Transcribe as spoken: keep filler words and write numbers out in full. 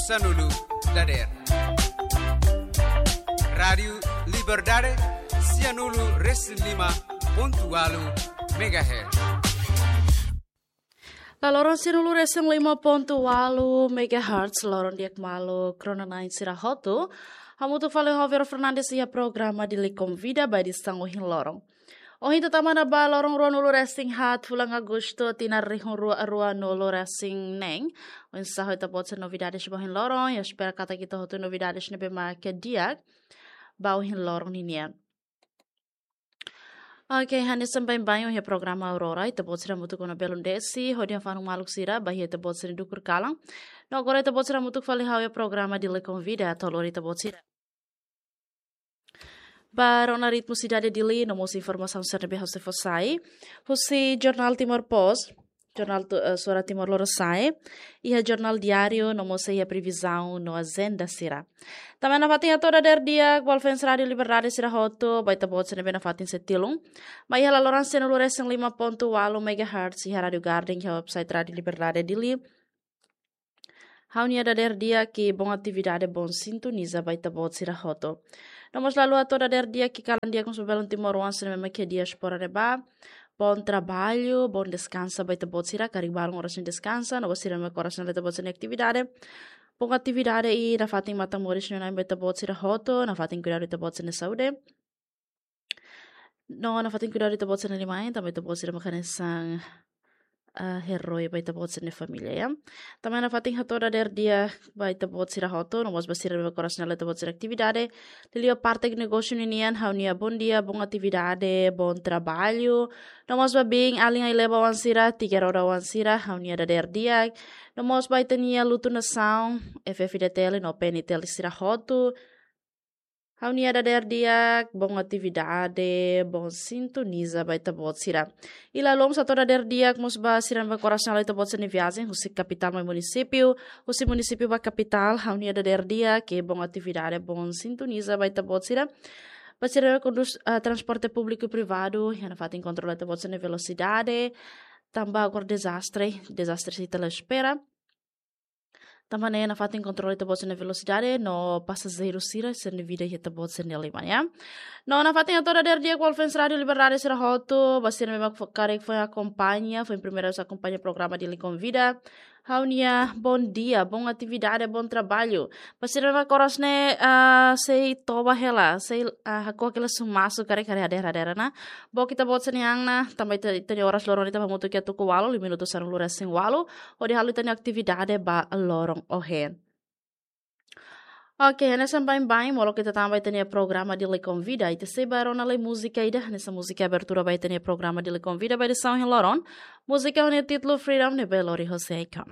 Sanulu dader. Rádiu Liberdade, sianulu resin lima pontu ualu megahertz. La loron sianulu resin lima pontu ualu megahertz, loron di'ak malu kronain sira hotu. Hamutuk fali ho Vero Fernandes iha programa Dili Konvida ba edisaun ohin loron. Ohin ita tama ona ba loron ruanulu resin haat fulan Agostu tinan rihun rua ruanulu resin neen. Oinsá ho ita-boot sira novidades ba ohin loron, ya espera katak ita hotu novidades ne'ebé mak di'ak ba ohin loron ninian. Oke, hanesan baibain iha programa Aurora, ita-boot sira hamutuk ona belun desi, hodi hafanun maluk sira ba iha ita-boot sira dukur kalan. No agora ita-boot sira hamutuk fali ha'u iha programa Dili Konvida, atu lori ita-boot sira ba rona ritmu sidade Dili, no mós informasaun sira ne'ebé ha'u sei fó sai husi jornál Timor Post, jornál tu, eh, Suara Timor Lorosa'e, iha jornál Diáriu, no mós iha previzaun no ajenda sira. Tanba nafatin hato'o dader di'ak ba fans Rádiu Liberdade sira hotu, ba ita-boot sira ne'ebé nafatin sei tilun mai iha la loron sianulu resin lima pontu ualu megahertz iha Rádiu Garden, iha website Rádiu Liberdade Dili. Ha'u-nia dader di'ak i boa atividade, boa sintoniza ba ita-boot sira hotu. No mós lalu hato'o dader di'ak i kalan di'ak mós ba belun timoroan sira ne'ebé mak iha diáspora ne'ebá. Bom trabalho, bom descanso ba ita-boot sira, karik balun oras ne'e deskansa, no ba sira ne'ebé mak oras ne'e la ita-boot sira-nia atividade. Boa atividade i nafatin matan moris no nain ba ita-boot sira hotu, nafatin kuidadu ita-boot sira-nia saúde. No nafatin kuidadu ita-boot sira-nia liman, tanba ita-boot sira mak hanesan, ah, herói ba ita-boot sira-nia família, ya. Tanba nafatin hato'o dader di'ak ba ita-boot sira hotu, no mós ba sira ne'ebé mak oras ne'e la ita-boot sira-nia atividade. Liuliu parte negósiu ninian, ha'u-nia bom dia, boa atividade, bom trabalho. No mós ba biin alin ai-leba oan sira, tiga roda oan sira, ha'u-nia dader di'ak. No mós ba ita-nia Lutu Nasaun, F F D T L no P N T L sira hotu. Ha'u-nia dader di'ak, boa atividade, boa sintoniza ba ita-boot sira. I la loos hato'o dader di'ak mós ba sira ne'ebé mak oras ne'e la ita-boot sira-nia viajen, husi kapitál mai munisípiu, husi munisípiu ba kapitál, ha'u-nia dader di'ak, i boa atividade, boa sintoniza ba ita-boot sira. Ba sira ne'ebé kondús, ah, transporte públiku privadu, iha nafatin kontrola ita-boot sira-nia velosidade, tanba agora dezastre, dezastre sei ita la espera. Tanba ne'e nafatin kontrola ita-boot sira-nia velosidade, no pasajeiru sira, sira-nia vida iha ita-boot sira-nia liman, ya. No nafatin hato'o dader di'ak ba fans Rádiu Liberdade sira hotu, ba sira ne'ebé mak fo-, karik foin akompaña, foin primeira vez akompaña programa Dili Konvida. Ha'u-nia bom dia, boa atividade, bom trabalho. Ba sira ne'ebé mak oras ne'e, ah, sei toba hela, sei, ah, hako'ak hela sumasu karik hadeer-hadeer ona. Book ita-boot sira-nia an ona, tanba ita, ita-nia oras loron ida hamutuk iha tuku ualu, liu minutu sanulu resin ualu, hodi halo ita-nia atividade ba loron ohin. Oke, hanesan baibain, molok ita tama ba ita-nia programa Dili Konvida, ita sei ba rona lai múzika ida, hanesan múzika abertura ba ita-nia programa Dili Konvida ba edisaun ohin loron. Múzika ho nia títulu Freedom ne'ebé lori hosi Akon.